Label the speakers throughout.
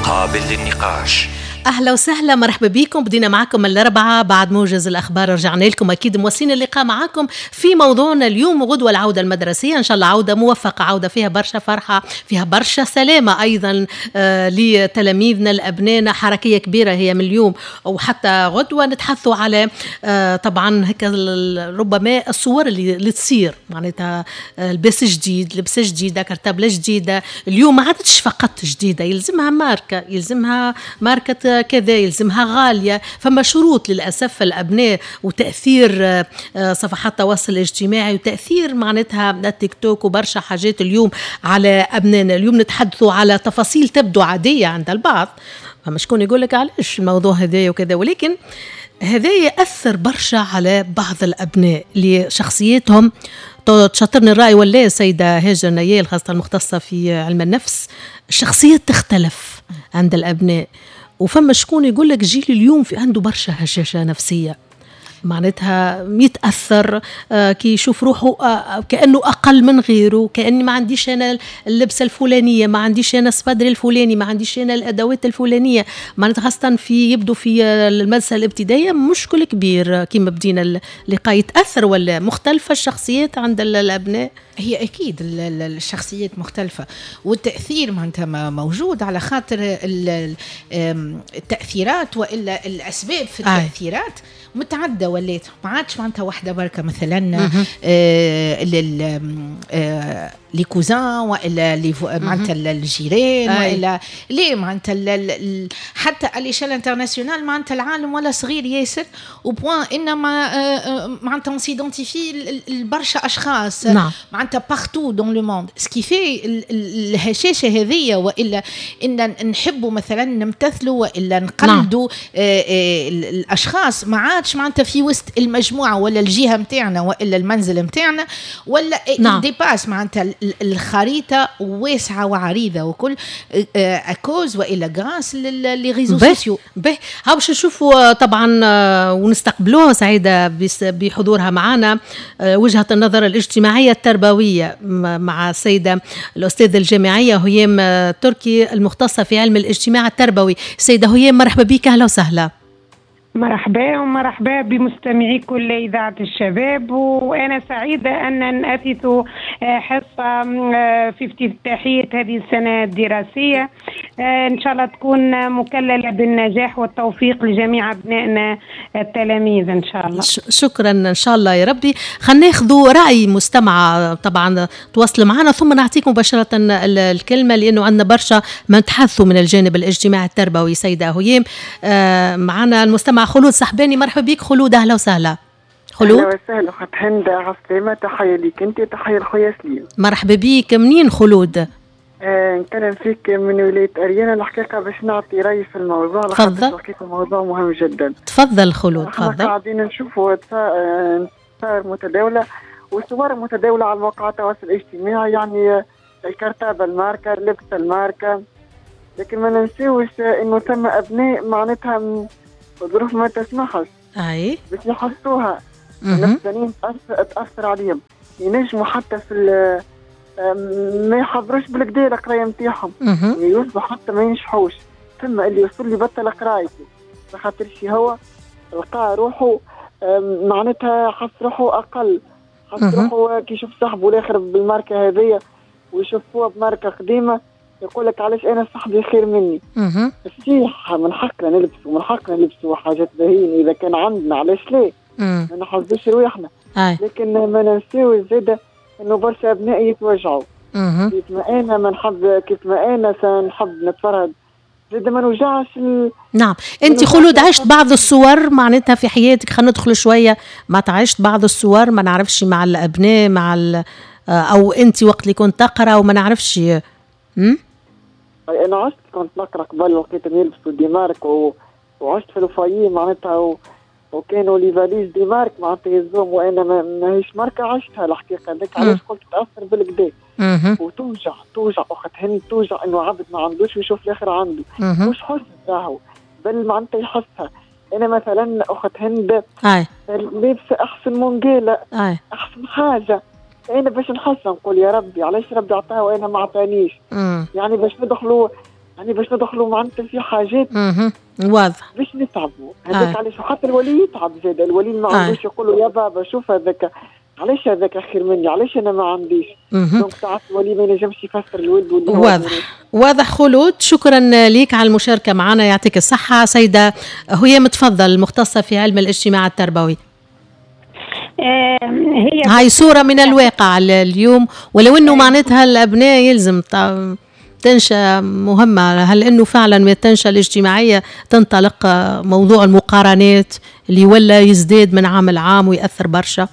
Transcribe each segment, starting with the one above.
Speaker 1: قابل للنقاش.
Speaker 2: اهلا وسهلا، مرحبا بكم. بدينا معكم الاربعاء بعد موجز الاخبار، رجعنا لكم اكيد مواصلين اللقاء معكم في موضوعنا اليوم غدوه العودة المدرسيه، ان شاء الله عوده موفقه، عوده فيها برشا فرحه، فيها برشا سلامه ايضا لتلاميذنا لابنائنا، حركية كبيرة هي من اليوم وحتى غدوه. نتحدثوا على طبعا هكا ربما الصور اللي تصير، معناتها لباس جديد، لبسه جديده، كرتابله جديده. اليوم ما عادتش فقط جديده، يلزمها ماركه، يلزمها ماركة كذا، يلزمها غالية. فما شروط للأسف الأبناء وتأثير صفحات التواصل الاجتماعي وتأثير معناتها التيك توك وبرشا حاجات اليوم على أبنائنا. اليوم نتحدثوا على تفاصيل تبدو عادية عند البعض، فما شكون يقول لك علاش الموضوع هذايا وكذا، ولكن هذا يأثر برشا على بعض الأبناء لشخصيتهم. تشاطرني الرأي ولا سيدة هاجر نيال، خاصة المختصة في علم النفس؟ الشخصية تختلف عند الأبناء، وفما شكون يقول لك جيل اليوم في عنده برشا هشاشة نفسية، معناتها يتأثر كي يشوف روحه كأنه أقل من غيره، كأني ما عنديش أنا اللبسة الفلانية، ما عنديش أنا السبادري الفلاني، ما عنديش أنا الأدوات الفلانية. معناتها خاصة في يبدو في المدرسة الابتدائية مشكل كبير. كما بدينا اللقاء، يتأثر ولا مختلفة الشخصيات عند الأبناء؟
Speaker 3: هي أكيد الشخصيات مختلفة، والتأثير معناتها موجود على خاطر التأثيرات وإلا الأسباب في التأثيرات متعددة، ولات ما عادش معناتها واحدة بركة. مثلا les cousins والا les معناتها الجيران والا ليه معناتها حتى à l'échelle internationale، معناتها العالم ولا صغير ياسر au point انما معناتها on s'identifie لبرشا اشخاص. معناتها partout dans le monde، ce qui fait الهشاشه هذيا، والا ان نحبوا مثلا نمتثلوا والا نقلدوا. الاشخاص ما عادش معناتها في وسط المجموعة ولا الجهة نتاعنا والا المنزل نتاعنا ولا dépasse، معناتها الخريطة واسعة وعريضه وكل à cause والا grâce les réseaux sociaux.
Speaker 2: به ها باش نشوفوا طبعا ونستقبلوها سعيدة بحضورها معنا وجهه النظر الاجتماعية التربوية مع السيدة الاستاذة الجامعية هيام تركي المختصة في علم الاجتماع التربوي. سيده هيام، مرحبا بك، اهلا وسهلا.
Speaker 4: مرحبا ومرحبا بمستمعي كل إذاعة الشباب، وأنا سعيدة أن أثث حصة في افتتاحية هذه السنة الدراسية، إن شاء الله تكون مكللة بالنجاح والتوفيق لجميع أبنائنا التلاميذ إن شاء الله.
Speaker 2: شكرا، إن شاء الله يا ربي. خلينا ناخذ رأي مستمعة طبعا تواصل معنا، ثم نعطيك مباشرة الكلمة لأنه عندنا برشا ما نتحدثوا من الجانب الاجتماعي التربوي. سيدة هيام، معنا المستمع خلود صحباني. مرحبا بك خلود، اهلا وسهلا.
Speaker 5: خلود، اهلا وسهلا اخت هند، عسلامة، تحية ليك انت، تحية لخويا سليم.
Speaker 2: مرحبا بك. منين خلود؟
Speaker 5: نكلم فيك من ولاية أريانا. الحقيقة باش نعطي رأيي في الموضوع.
Speaker 2: تفضل.
Speaker 5: الحقيقة الموضوع مهم جدا.
Speaker 2: تفضل خلود، تفضل.
Speaker 5: قاعدين نشوفوا صور متداولة وصور متداولة على مواقع التواصل الاجتماعي، يعني الكرتابة الماركة، اللبس الماركة، لكن ما ننساوش انه ثم أبناء معناتها الظروف ما تسمحش
Speaker 2: اي
Speaker 5: باش يحسوها نفسانيا، تاثر عليهم، ينجموا حتى في ما يحضروش بالكدا القراية نتاعهم، يوصلوا حتى ما ينجحوش. ثم اللي يوصل لي بطل قرايته خاطر شي هو لقى روحه معناتها حس روحه اقل، حس روحه كي يشوف صاحبه الاخر بالماركه هذيا ويشوف هو بماركه قديمة يقول لك علاش انا صاحبي خير مني. صحيح من حقنا نلبسوا، من حقنا نلبسوا حاجات باهيين اذا كان عندنا، علاش ليه؟ ما نحسدوش رواحنا. لكن ما ننساوش زاده انه برشا ابناء يتوجعوا. كيف ما انا ما نحب، كيف ما انا سنحب نتفرهد زاده ما نوجعش
Speaker 2: نعم. انت خلود عشت بعض الصور معناتها في حياتك، خلينا ندخل شوية، ما عشت بعض الصور ما نعرفش مع الابناء مع او انت وقت اللي كنت تقرا وما نعرفش.
Speaker 5: انا عشت كنت نقرا قبل وقت يلبسوا des marques وعشت في ال foyer معناتها وكانوا les valises des marques معناتها يهزوهم وانا ماهيش ماركة، عشتها الحقيقة. هذاك علاش قلت تاثر بالكدا وتوجع، توجع اخت هند، توجع انه عبد ما عندوش ويشوف الاخر عنده. مش حسن راهو، بل معناتها يحسها. انا مثلا اخت هند لابسه احسن مونجيلا، احسن حاجة، انا باش نحس نقول يا ربي علاش ربي عطاها وانا ما عطانيش. يعني باش ندخلوا يعني باش ندخلوا معناتها في حاجات
Speaker 2: واضح
Speaker 5: باش نتعبوا. هذاك علاش حتى الولي يتعب زاد، الولي ما عندوش يقول له يا بابا شوف هذاك علاش هذاك خير مني، علاش انا ما عنديش. donc ساعات الولي ما ينجمش يفسر الولد.
Speaker 2: واضح واضح. خلود شكرا ليك على المشاركة معنا، يعطيك الصحة. سيده هيام تفضل، مختصة في علم الاجتماع التربوي.
Speaker 4: هي
Speaker 2: هاي صوره من الواقع اليوم، ولو انه معناتها الابناء يلزم تنشأ مهمة. هل أنه فعلا من التنشأة الاجتماعية تنطلق موضوع المقارنات اللي ولا يزداد من عام لعام ويأثر برشا؟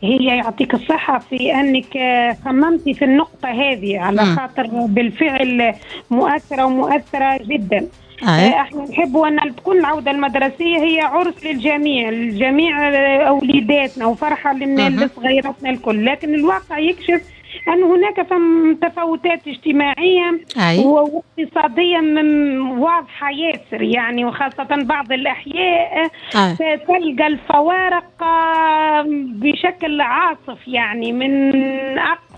Speaker 4: هي يعطيك الصحة في أنك خممتي في النقطة هذه، على خاطر بالفعل مؤثرة ومؤثرة جدا. احنا نحبوا أن تكون العودة المدرسية هي عرس للجميع، الجميع أوليداتنا وفرحة لصغيراتنا الكل، لكن الواقع يكشف أن هناك تفاوتات اجتماعية واقتصادية واضحة ياسر يعني، وخاصة بعض الأحياء تلقى الفوارق بشكل عاصف يعني، من أقصى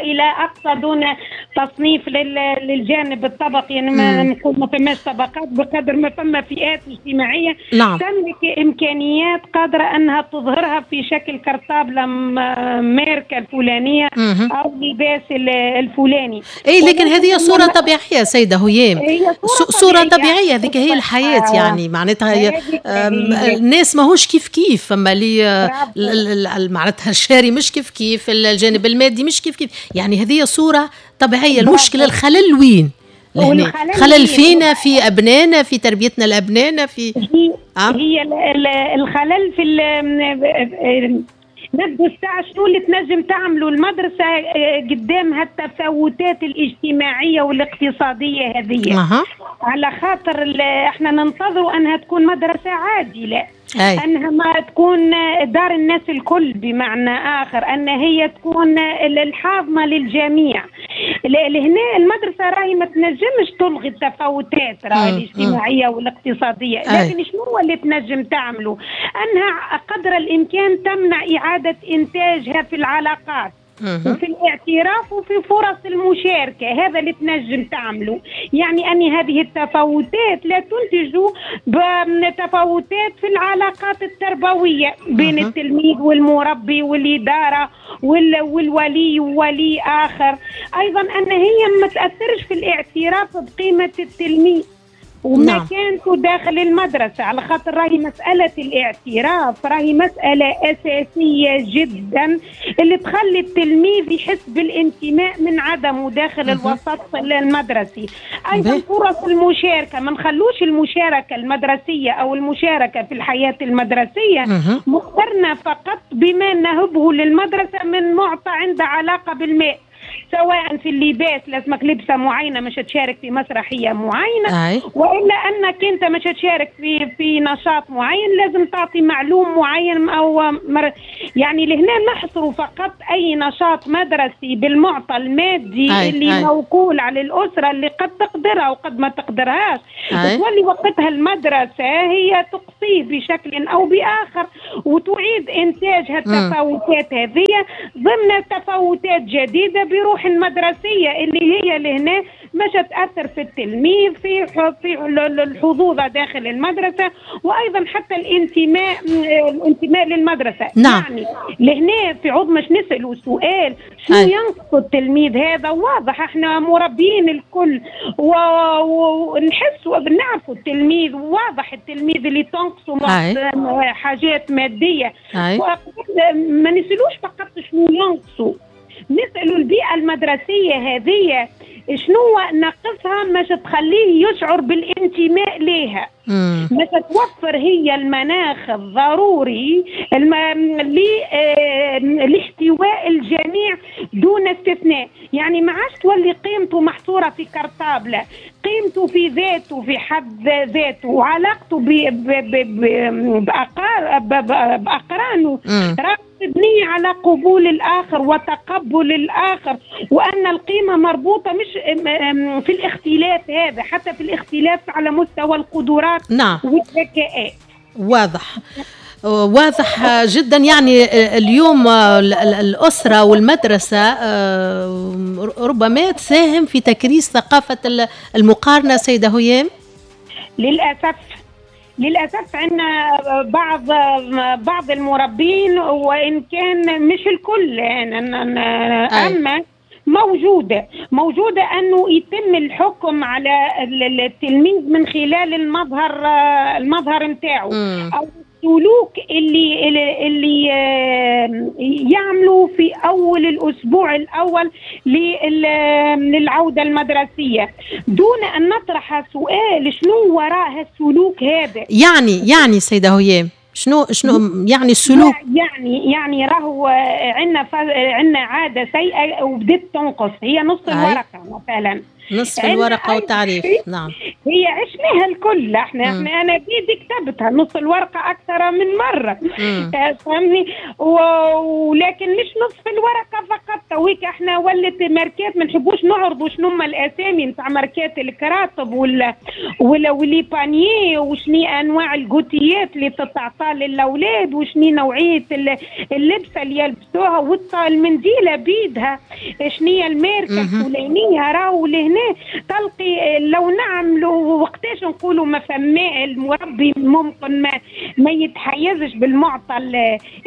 Speaker 4: إلى أقصى دون تصنيف للجانب الطبقي. يعني ما نقول ما فماش طبقات بقدر ما فما فئات اجتماعية تملك إمكانيات قادرة أنها تظهرها في شكل كرطابلة ماركة الفلانية أو لباس الفلاني.
Speaker 2: أي لكن هذه صورة طبيعية سيدة هيام، صورة طبيعية، هذيك هي الحياة يعني. معناتها الناس ماهوش كيف كيف، فما اللي معناتها الشاري مش كيف كيف، الجانب المادي مش كيف كيف، يعني هذه صورة طبيعية. المشكلة الخلل وين؟ خلل فينا، في أبنائنا، في تربيتنا لأبنائنا، في
Speaker 4: هي الخلل في نبدو الساعة شنو اللي تنجم تعملوا المدرسة قدام هالتفاوتات الاجتماعية والاقتصادية هذه. على خاطر احنا ننتظروا أنها تكون مدرسة عادلة، أنها ما تكون دار الناس الكل، بمعنى آخر أن هي تكون الحاضنة للجميع. لهنا المدرسة راهي ما تنجمش تلغي التفاوتات راهي الاجتماعية والاقتصادية، لكن شنو هو اللي تنجم تعمله؟ أنها قدر الإمكان تمنع إعادة إنتاجها في العلاقات وفي الاعتراف وفي فرص المشاركة. هذا اللي تنجم تعمله، يعني أن هذه التفاوتات لا تنتج تفاوتات في العلاقات التربوية بين التلميذ والمربي والإدارة والولي وولي آخر. أيضا أن هي ما تأثرش في الاعتراف بقيمة التلميذ ومكانته داخل المدرسة، على خاطر راهي مسألة الاعتراف راهي مسألة أساسية جدا اللي تخلي التلميذ يحس بالانتماء من عدمه داخل الوسط المدرسي. أيضا فرص المشاركة، ما نخلوش المشاركة المدرسية أو المشاركة في الحياة المدرسية مقترنة فقط بما نهبه للمدرسة من معطى عنده علاقة بالماء، سواء في اللباس لازمك لبسه معينة مش تشارك في مسرحية معينة، والا انك انت مش تشارك في نشاط معين لازم تعطي معلوم معين او يعني لهنا نحصر فقط اي نشاط مدرسي بالمعطى المادي اللي موكول على الاسرة اللي قد تقدرها وقد ما تقدرهاش، وتولي وقتها المدرسة هي تقصيه بشكل او باخر وتعيد انتاج هالتفاوتات هذه ضمن تفاوتات جديدة بروح المدرسية اللي هي لهنا مش تأثر في التلميذ في الحظوظ داخل المدرسة، وأيضا حتى الانتماء للمدرسة. يعني لهنا في عوض مش نسألوا سؤال شنو ينقص التلميذ، هذا واضح احنا مربيين الكل ونحس ونعرفوا التلميذ، واضح التلميذ اللي تنقصه حاجات مادية، ما نسألوش فقط شنو ينقصه، نسألوا البيئة المدرسية هذه شنو ناقصها مش تخليه يشعر بالانتماء ليها، مش توفر هي المناخ الضروري لاحتواء الجميع دون استثناء. يعني ما عادش تولي قيمته محصورة في كرطابلة، قيمته في ذاته في حد ذاته وعلاقته بأقرانه مبنية على قبول الآخر وتقبل الآخر، وأن القيمة مربوطة مش في الاختلاف هذا، حتى في الاختلاف على مستوى القدرات والذكاء.
Speaker 2: واضح. واضح جدا. يعني اليوم الأسرة والمدرسة ربما تساهم في تكريس ثقافة المقارنة سيدة هيام.
Speaker 4: للأسف عندنا بعض المربين، وإن كان مش الكل، أما موجودة أنه يتم الحكم على التلميذ من خلال المظهر نتاعو أو السلوك اللي يعملوا في أول الأسبوع الأول للعودة المدرسية، دون أن نطرح سؤال شنو وراء السلوك هذا.
Speaker 2: يعني سيدة هيام شنو يعني السلوك؟
Speaker 4: يعني راهو عندنا عادة سيئة وبدت تنقص، هي نص الورقة مثلا،
Speaker 2: نصف الورقة والتعريف. نعم،
Speaker 4: هي عشناها الكل احنا انا بيدي كتبتها نص الورقة أكثر من مرة، فهمني؟ ولكن مش نصف الورقة فقط. تويك احنا ولت ماركات ما نحبوش نعرضوا شنو هما الأسامي نتاع ماركات الكراتب ولا و les paniers، وشني أنواع الجوتيات اللي تتعطى للأولاد، وشني نوعية اللبسة اللي يلبسوها، والمنديلة بيدها شني الماركة الفلانية. راهو لهنا تلقي لو نعملوا وقتاش نقولوا ما فما المربي ممكن ما يتحيزش بالمعطى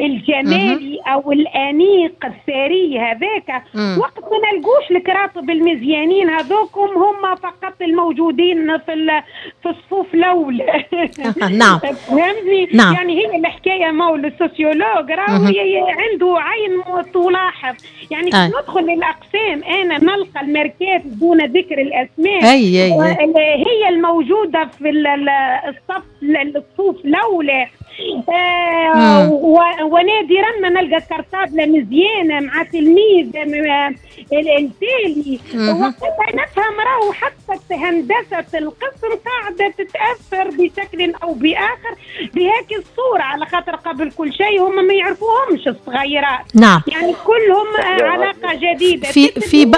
Speaker 4: الجمالي او الانيق الثري هذاك، وقت ما نلقوش الكراطب المزيانين هذوكم هم فقط الموجودين في الصفوف الاولى.
Speaker 2: نعم،
Speaker 4: فهمتني؟ نعم. يعني هي الحكاية مول ال sociologue راهو عنده عين تلاحظ. يعني ندخل للاقسام انا نلقى الماركات دون ذكر الاسماء أي. هي الموجودة في الصف الصفوف الاولى، ونادرا ما نلقى كرتابله مزيانه مع تلميذ التالي. وقتها نفهم راهو حتى هندسة القسم قاعدة تتاثر بشكل او باخر بهذه الصورة، على خاطر قبل كل شيء هم ما يعرفوهمش الصغيرات.
Speaker 2: نعم،
Speaker 4: يعني كلهم علاقة جديدة
Speaker 2: في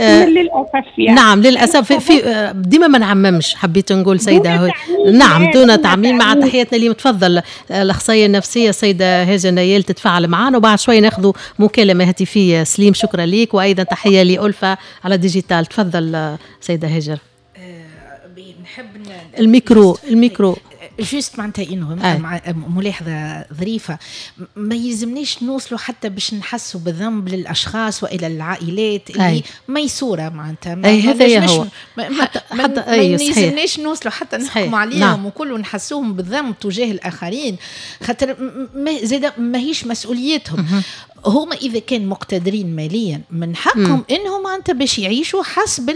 Speaker 4: للأسف يعني.
Speaker 2: نعم للأسف في ديما ما نعممش، حبيت نقول سيدة. نعم، دون تعميم. مع تحياتنا لي تفضل الأخصائية النفسية السيدة هاجر نيال تتفاعل معنا، وبعد شوي ناخذ مكالمة هاتفية. سليم شكرا ليك، وأيضا تحية لألفة على digital. تفضل سيدة هاجر.
Speaker 3: نحب
Speaker 2: الميكرو
Speaker 3: juste معناتها انه ملاحظة ظريفة، ما يلزمناش نوصلوا حتى باش نحسوا بالذنب للاشخاص والى العائلات اللي ميسوره معناتها.
Speaker 2: هذا هو
Speaker 3: حتى ما يلزمناش نوصلوا حتى نحكموا عليهم. نعم. وكل نحسوهم بالذنب تجاه الاخرين، خاطر زاد ماهيش مسؤوليتهم. هما اذا كان مقتدرين ماليا من حقهم انهم معناتها باش يعيشوا حسب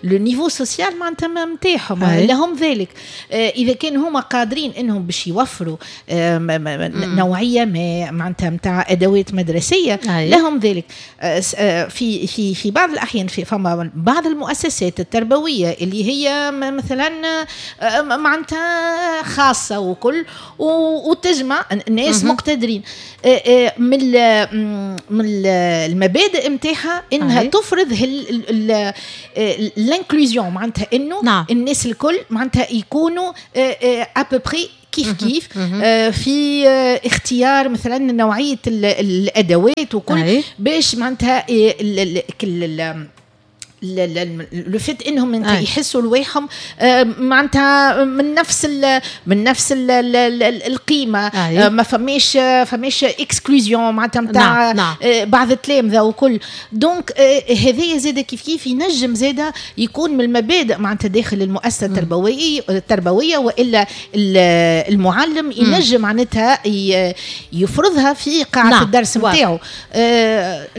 Speaker 3: le niveau social معناتها نتاعهم، لهم ذلك. اذا كان هما قادرين انهم باش يوفروا نوعية ما معناتها نتاع ادوات مدرسيه لهم ذلك. في في في بعض الاحيان في فما بعض المؤسسات التربوية اللي هي مثلا معناتها خاصة وكل وتجمع ناس مقتدرين، من المبادئ نتاعها انها تفرض l'inclusion معناتها انه نعم. الناس الكل معناتها يكونوا à peu près كيف كيف في اختيار مثلا نوعية الادوات وكل باش معناتها le fait انهم يحسوا رواحهم معناتها من نفس القيمة، ما فماش exclusion معناتها نتاع بعض التلامذه وكل. donc هذايا زاد كيف كيف ينجم زاد يكون من المبادئ معناتها داخل المؤسسة التربوية والا المعلم ينجم معناتها يفرضها في قاعة الدرس نتاعو.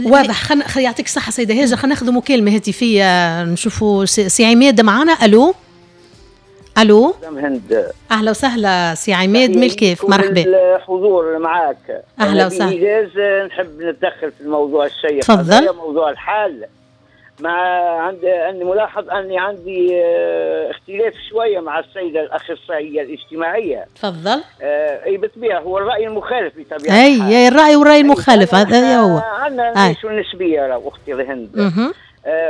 Speaker 2: واضح. يعطيك الصحة سيده هاجر. خلينا ناخذ مكالمة هاتفيه، نشوفوا سي عماد معنا. الو الو،
Speaker 1: هند.
Speaker 2: اهلا وسهلا سي عماد من الكيف، مرحبا.
Speaker 1: الحضور معاك.
Speaker 2: اهلا وسهلا.
Speaker 1: بإيجاز نحب نتدخل في الموضوع الشيق.
Speaker 2: تفضل.
Speaker 1: موضوع الحال مع عندي اني ملاحظ اني عندي اختلاف شوية مع السيدة الاخصائيه الاجتماعية.
Speaker 2: تفضل.
Speaker 1: اي بالطبيعة هو الراي المخالف بطبيعة
Speaker 2: الحال. اي الراي والراي المخالف هذا هو.
Speaker 1: عندنا نعيشوا النسبية اختي هند.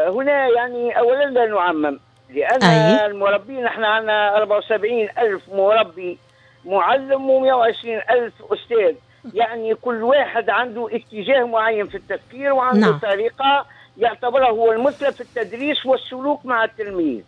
Speaker 1: هنا يعني اولا لا نعمم، لان المربين احنا عندنا 74 ألف مربي معلم و120 ألف أستاذ، يعني كل واحد عنده اتجاه معين في التفكير وعنده نعم. طريقة يعتبرها هو المثلى في التدريس والسلوك مع التلميذ.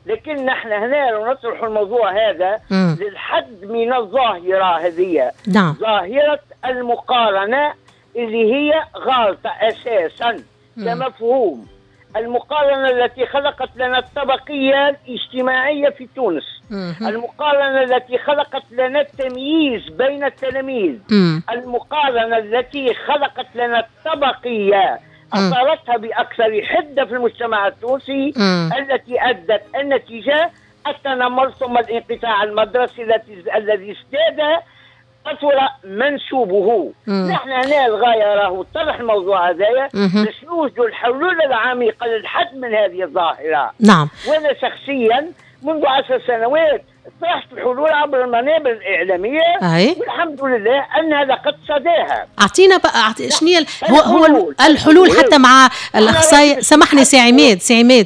Speaker 1: لكن نحن هنا لو نطرح الموضوع هذا للحد من الظاهرة هذه، نعم. ظاهرة المقارنة اللي هي غلطة أساسا كمفهوم. المقارنة التي خلقت لنا الطبقية الاجتماعية في تونس، المقارنة التي خلقت لنا التمييز بين التلاميذ، المقارنة التي خلقت لنا الطبقية أثارتها بأكثر حدة في المجتمع التونسي، التي أدت النتيجة التنمر ثم الانقطاع المدرسي الذي ازداد كثر منسوبه. نحن هنا الغاية راهو طرح الموضوع هذايا باش نوجدوا الحلول العميقة للحد من هذه الظاهرة.
Speaker 2: نعم.
Speaker 1: وأنا شخصيا منذ 10 سنوات طرحت الحلول عبر المنابر الإعلامية. والحمد لله أنها لقد صداها.
Speaker 2: أعطينا بقى شنو هو الحلول حتى مع الأخصائي. سامحني سي عماد، سي عماد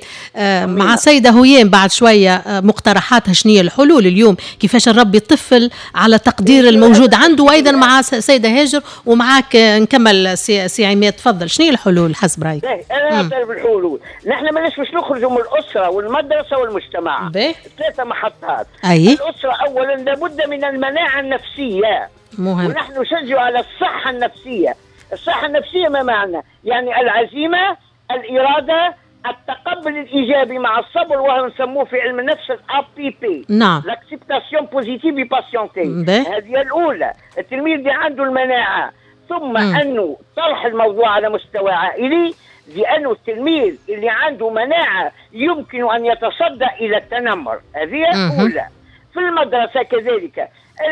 Speaker 2: مع السيدة هيام بعد شوية مقترحاتها شنو الحلول اليوم، كيفاش نربي الطفل على تقدير الموجود عنده، وأيضا مع السيدة هاجر ومعاك نكمل سي عماد. تفضل، شنو الحلول حسب رأيك؟
Speaker 1: أنا أعترف بالحلول، نحن ماناش باش نخرجوا من الأسرة والمدرسة والمجتمع، ثلاثة محطات. الأسرة أولا لابد من المناعة النفسية،
Speaker 2: مهم.
Speaker 1: ونحن نشجع على الصحة النفسية. الصحة النفسية ما معنى؟ يعني العزيمة، الإرادة، التقبل الإيجابي مع الصبر، وهو نسموه في علم النفس APP.
Speaker 2: نعم.
Speaker 1: l'acceptation positive patientée. هذه الأولى، التلميذ اللي عنده المناعة. ثم أنه طرح الموضوع على مستوى عائلي، لأنه التلميذ اللي عنده مناعة يمكن أن يتصدى إلى التنمر. هذه الأولى. في المدرسة كذلك،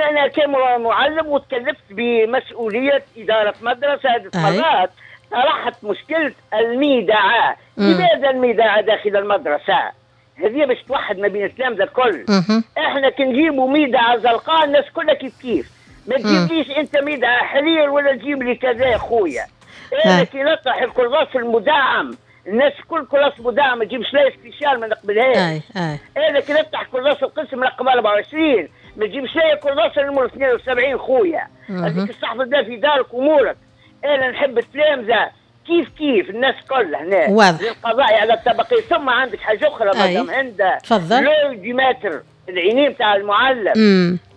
Speaker 1: أنا كمعلم وتكلفت بمسؤولية إدارة مدرسة عدة مرات، طرحت مشكلة الميدعة. لماذا الميدعة داخل المدرسة؟ هذه باش توحد ما بين التلامذة الكل. احنا كي نجيبوا ميدعة زرقاء الناس كلها كيف كيف، ما تجيبليش انت ميدعة حرير ولا تجيب لي كذا خويا. انا كي نطرح الكراس المدعم الناس كل كراس مدعم، ما تجيبش لا spécial ما نقبلهاش. انا كي نفتح كراس القسم رقم 24 ما تجيبش لا كراس نمر 72 خويا، هذيك استحفظ بها في دارك امورك. انا نحب التلامذه كيف كيف الناس كلها هنا للقضاء على الطبقية. ثم عندك حاجة اخرى مدام هندا،
Speaker 2: تفضل.
Speaker 1: l'œil du maître، العينين تاع المعلم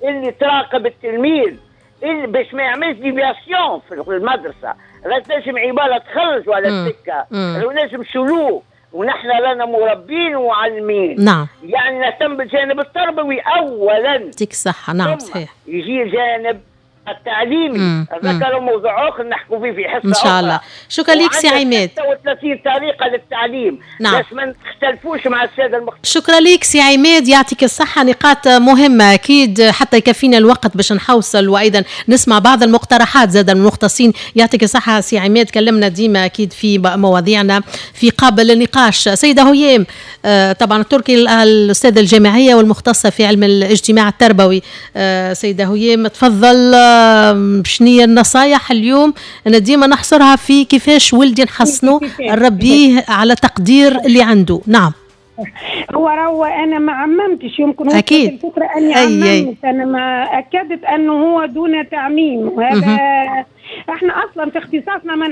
Speaker 1: اللي تراقب التلميذ، اللي باش ما يعملش déviation في المدرسة. لا تنجم عبارة تخرج على السكة، لا نجم سلوك، ونحن لنا مربين ومعلمين.
Speaker 2: نعم.
Speaker 1: يعني نهتم بالجانب التربوي اولا.
Speaker 2: يعطيك الصحة. نعم صحيح.
Speaker 1: يجي الجانب التعليمي، ذكروا موضوع اخر نحكوا فيه في حصة
Speaker 2: ان شاء الله. شكرا لك سي عماد.
Speaker 1: 36 طريقه للتعليم.
Speaker 2: نعم.
Speaker 1: بس ما نختلفوش مع السادة المختلفين.
Speaker 2: شكرا لك سي عماد، يعطيك الصحة. نقاط مهمة اكيد حتى يكفينا الوقت باش نحوصل وايضا نسمع بعض المقترحات زاد المختصين. يعطيك الصحة سي عماد، كلمنا ديما اكيد في مواضيعنا في قابل النقاش. سيده هيام، طبعا التركي الاستاذة الجامعية والمختصه في علم الاجتماع التربوي، سيده هيام تفضل. شنية النصايح اليوم؟ أنا ديما نحصرها في كيفاش ولدي نحصنه نربيه على تقدير اللي عنده. نعم.
Speaker 4: هو راهو أنا ما عممتش، يمكن
Speaker 2: أكيد
Speaker 4: الفكرة أني عممت، أنا ما أكدت أنه هو دون تعميم، وهذا احنا أصلا في اختصاصنا ما